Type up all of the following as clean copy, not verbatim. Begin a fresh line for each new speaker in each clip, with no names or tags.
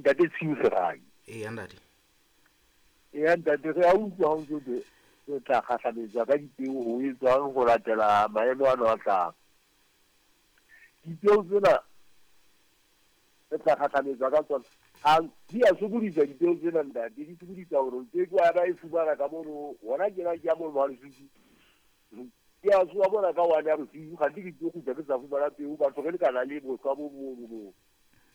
Ntate Tshiu Serai.
Eya ntate.
Eya ntate, re a utlwa ha o ntso thwe re tla kgahlametswa ka dipeo ho etswang ho latela maemo ano a tlang. Dipeo tsena re tla kgahlametswa ka tsona. Ha di a sokodisa dipeo tsena ntate, di sokodisa hore o ke ke wa ba e fumana ka mono. Hona tjena ke ya mono ha Lesotho. Ke a tsoha mona ka 1 ya bosiu, kganthe ke tlo kgutla ke sa fumana peo. Batho re lekana le bohlwa bo mono moo.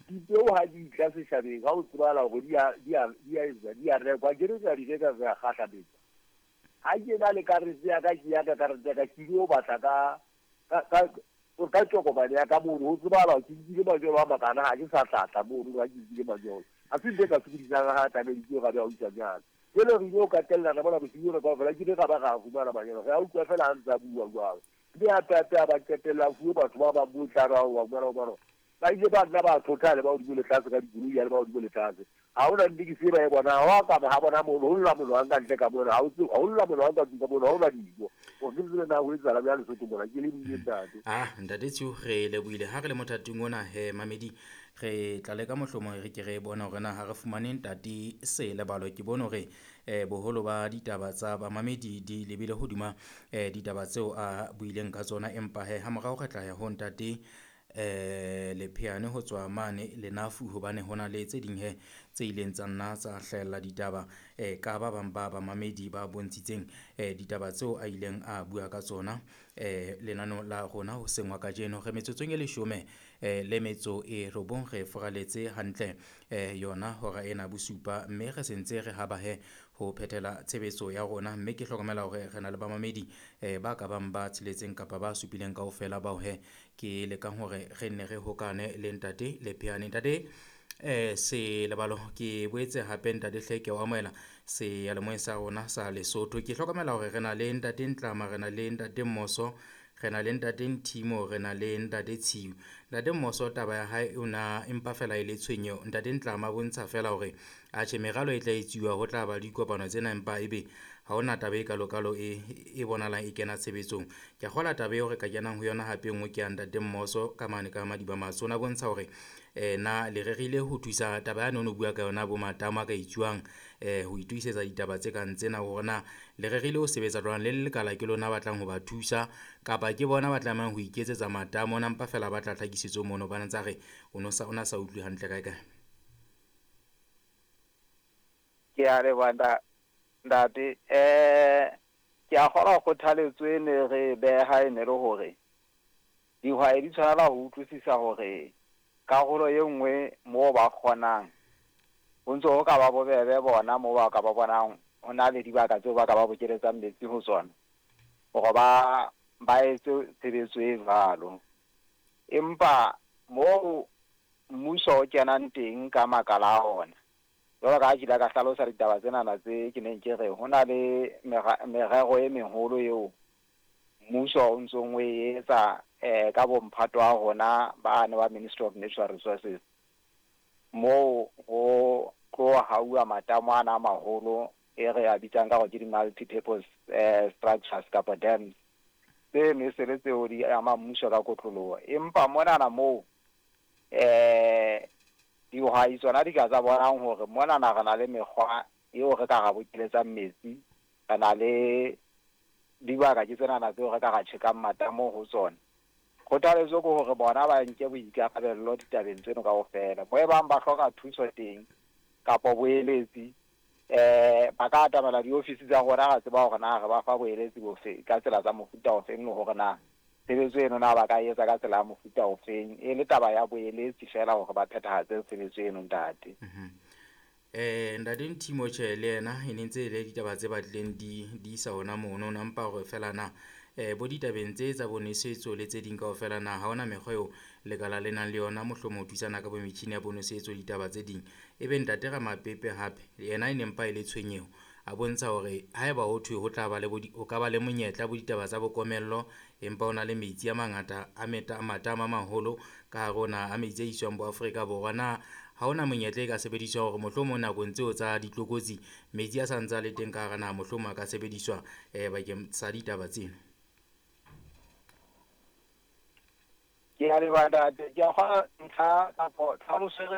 Dipeo ha di tla setjhabeng, ha ho tsebahala hore di a, di a, di a etswa, di a rekwa, akere re a di reka, re a kgahlametsa. Ha ke na le karete ya ka, ke ya ka karete ya ka, ke ilo batla ka, ka, ka, ka tokomane ya ka mono, ho tsebahala hore ke nkile manyolo a makana, ha ke sa tla tla mono ha ke nkile manyolo. Ha se ntho e ka sokodisang ha tlameditse ra be a utlwa jwalo. Jwale re ile katellana mona bosiu bona kaofela, ke ile ra ba ra fumana manyolo. Re a utlwa feela ha ntse a bua jwalo. Mme hape hape a ba qetella a fuwe batho ba bang bo tla ba wa fumana hobane ba ile ba nna ba thotha le ba hodimo le tlase ka dikoloi ya le ba hodimo le tlase. Ha hona nnete se ba e bonang, ha wa ka ha bona mono, ho lla monwang ka ntle ka mona, ha o tsebe, ha ho lla monwang ka tlung ka mona, ha hona dijo. Hore ke tsebe na ho etsahala bjang Lesotho mona, ke lebohile ntate.
Ah, ntate Tshiu, re lebohile. Ha re le mothating ona he mamedi, re tla leka mohlomong re ke re bone hore na ha re fumane ntate Selebalo. Ke bone hore boholo ba ditaba tsa bamamedi di lebile hodima ditaba tseo a buileng ka tsona, empa he ha morao re tla ya ho ntate Lepheane ho tswa mane Lenafu, hobane ho na le tse ding he tse ileng tsa nna tsa hlahella ditaba ka ba bang ba bamamedi ba bontshitseng ditaba tseo a ileng a bua ka tsona lenaneong la rona hoseng wa kajeno. Re metsotsong e 19 le metso e 9, re foraletse hantle yona hora ena bosupa, mme re sentse re haba he ho phethela tshebetso ya rona. Mme ke hlokomela hore re na le bamamedi ba ka bang ba tsheletseng kapa ba supileng kaofela bao he ke lekang hore re nne re hokane le ntate Lepheane. Ntate Selebalo, ke boetse hape ntate hle ke o amohela seyalemoyeng sa rona sa Lesotho. Ke hlokomela hore re na le ntate Ntlama, re na le ntate Mmoso, re na le ntate Nthimo, re na le ntate Tshiu. Ntate Mmoso taba ya hae o na empa fela e le tshwenyeho. Ntate Ntlama bontsha fela hore atjhe meralo e tla etsuwa, ho tla ba le dikopano tsena, empa ebe ha hona taba e kalokalo e bonahalang e kena tshebetsong. Ke a kgolwa taba eo re ka kenang ho yona hape e nngwe ke ya ntate Mmoso ka mane ka Madiba Matsho. O na bontsha hore na le rerile ho thusa taba yane o no bua ka yona bo matamo a ka etsuwang ho itokisetsa ditaba tse kang tsena, hore na le rerile ho sebetsa jwang le lekala ke lona batlang ho ba thusa kapa ke bona ba tlamehang ho iketsetsa matamo. Ona mpa fela ba tla tlhakisetso mono, ba ntsa re o no sa, o na sa utlwe hantle kae kae.
Ke a leboha ntate. Ke a kgolwa kgothaletso e ne re beha e ne le hore dihwai di tshwanela ho utlwisisa hore karolo e nngwe moo ba kgonang ho ntse ho ka ba bobebe bona moo ba ka ba bonang ho na le dibaka tseo ba ka ba bokeletsang metsi ho tsona hore ba ba etse tshebetso e jwalo. Empa moo mmuso o kenang teng ka makala a ona, jwalo ka ha ke ile ka hlalosa ditaba tsenana tse ke neng ke re ho na le merero e meholo eo mmuso o ntsong o e etsa ka bomphato wa rona bane ba Ministry of Natural Resources, moo ho tlo hauwa matamo ana a maholo e re a bitsang ka hore ke di-multi-purpose structures kapa dams. Tseno e se le tseo di ama mmuso ka kotloloho. Empa monana moo dihwai tsona di ka tsa bonang hore monana re na le mekgwa eo re ka ra bokeletsang metsi, re na le dibaka ke tsenana tseo re ka ra tjhekang matamo ho tsona. Kgothaletso ke hore bona ba nke boikarabello ditabeng tseno kaofela. Mo e bang ba hloka thuso teng kapa boeletsi, ba ka atamela diofisi tsa rona, ra tseba hore na re ba fa boeletsi bofe ka tsela tsa mofuta ofeng, le hore na tshebetso eno na ba ka etsa ka tsela ya mofuta ofeng, e le taba ya boeletsi fela hore ba phethahatse tshebetso eno ntate.
Ntate Nthimo tjhe le yena e ne ntse e le ditaba tse batlileng di isa hona mono, na mpa hore fela na bo ditabeng tse tsa bonosetso le tse ding kaofela na ha hona mekgwa eo lekala le nang le yona mohlomong ho thusana ka bo metjhini ya bonosetso ditaba tse ding. Ebe ntate Ramapepe hape yena e ne mpa e le tshwenyeho, a bontsha hore haeba ho thwe ho tla ba le ho ka ba le monyetla bo ditaba tsa bokomello, empa ho na le metsi a mangata a matamo a maholo ka hare ho naha a metsi a iswang bo Afrika Borwa, na ha hona monyetla e ka sebediswa hore mohlomong nakong tseo tsa ditlokotsi metsi a sa ntse a le teng ka hara naha, mohlomong a ka sebediswa bakeng sa ditaba tseno?
Ke a leboha ntate. Ke a kgolwa ntlha kapa tlhaloso e re